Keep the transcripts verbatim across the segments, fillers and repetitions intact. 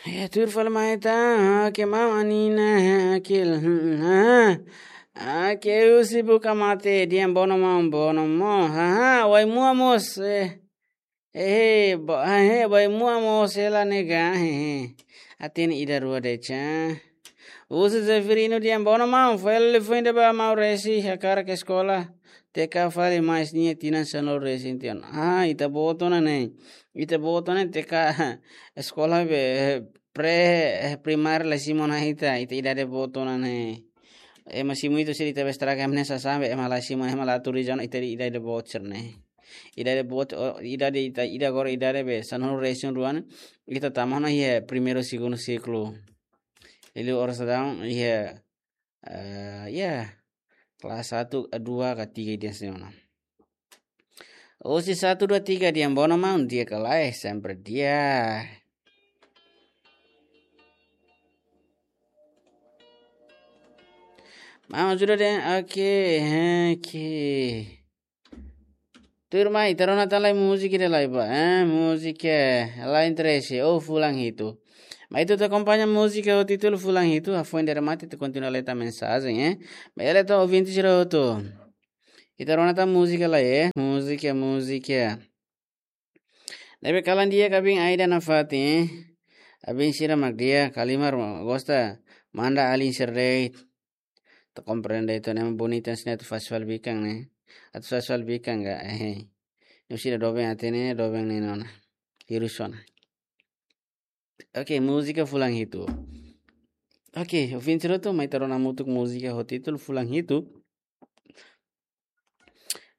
Eh, tuir fali mai ita, ah, ke maun Anina, eh, akil, hmm, ah, ah, ke husi buka mate, dehan bono maun, bono mós, ah, ah, Wai-Mua mós, eh, eh, eh, ba-, ah, eh, Wai-Mua mós, hela nega, eh, eh, hatene ida rua de'it, ah. Husi Zeferino dehan bono maun, foin, foin ne'ebá maun resin, hakarak eskola, T K fali mais nia tinan sanulu resin tiha ona. Ah, ita-boot ona ne'e. Ita-boot ona ne'e T K eskola be, eh, pre, eh, primária la simu ona ita, ita idade boot ona ne'e. Ema simu ita sira ita be estraga, ema ne'e sasán be, ema la simu, ema la turizan, ita idade boot sira-ne'e. Idade boot, o, idade ita, ida agora idade be, sanulu resin rua ne'e, ita tama ona iha primeiru, segundu siklu. Liuliu oras daudaun, iha, eh, ya, kelas satu, dua, ka tiga ida sira-ne'e. Husi satu, dua, tiga dehan bono maun, di'ak ka lae, sempre di'ak. Maun ajuda dehan, oke, oke. Tuirmai, ita rona tan lai múzika ida lai ba, eh, múzika, eh, la interese, oh, fulan hitu. Mai ita akompaña múzika ho títulu Fulan Hitu, hafoin ida remata ita kontinua lee tan mensajen, eh. Mai lee tan ouvinte sira hotu. Ita rona tan múzika lai, eh, múzika, múzika. Ne'ebé kalan di'ak Abin Aida nafatin, eh. Abin sira mak di'ak, Kalimar gosta manda alin sira de'it. Ita komprende ita ne'e ema bonita sira atu fase fali bikan ne'e. Atu fase fali bikan ka, eh. Ne'e sira doben hatene, doben ne'e ona. Hirus ona. Oke, múzika Fulan Hitu. Oke, ouvinte sira hotu, mai ita rona hamutuk múzika ho títulu Fulan Hitu.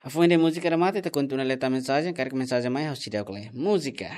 Hafoin ida múzika remata, ita kontinua lee tan mensajen, karik mensajen mai, ha'u seidauk lee. Múzika.